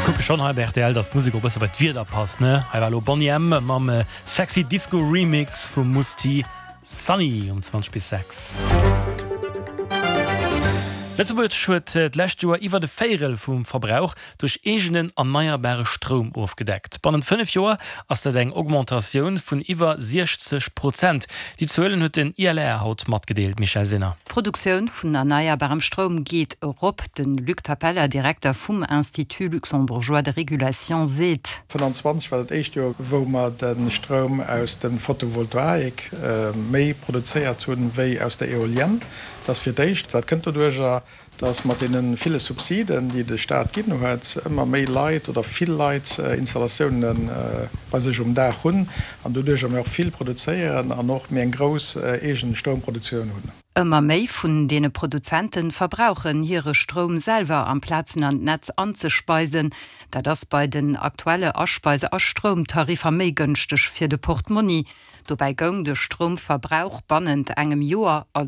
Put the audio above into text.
Kucke schonn hei bei rtl, dass d'Musek och e bësse bei d'Wieder passt, ne? Hei war elo Boney M mam Sexy Disco Remix vum Mousse T. Sunny um 20 bis 6. Lëtzebuerg huet d'lescht Joer iwwert e Véierel vum Verbrauch duerch eegenen erneierbare Stroum ofgedeckt. Bannent 5 Joer ass dat eng Augmentatioun vun iwwer 60 Prozent. Déi Zuelen huet den ILR haut matgedeelt, Michèle Sinner. D'Produktioun vun erneierbarem Stroum geet erop. De Luc Tapella, Direkter vum Institut luxembourgeois de régulation, seet. 25 war dat éischt Joer, wou mer de Stroum aus de Photovoltaik méi produzéiert hunn, wéi aus der Eolienne. Dat ass fir d'éischt. Dat kënnt doduercher, dass mat deene ville Subsiden, déi de Staat ginn huet, ëmmer méi Leit oder vill Leit Installatiounen bei sech um Daach hunn an doduercher mir och vill produzéieren an och méi eng grouss eegen Stroumproduktioun hunn. Ëmmer méi vun deene Produzente verbrauchen hire Stroum selwer, amplaz en an d'Netz anzespeisen. Dat ass bei den aktuelle Aspeise a Stroumtariffer méi gënschteg fir de Portmonni. Dobäi goung de Stroumverbrauch bannent engem Joer.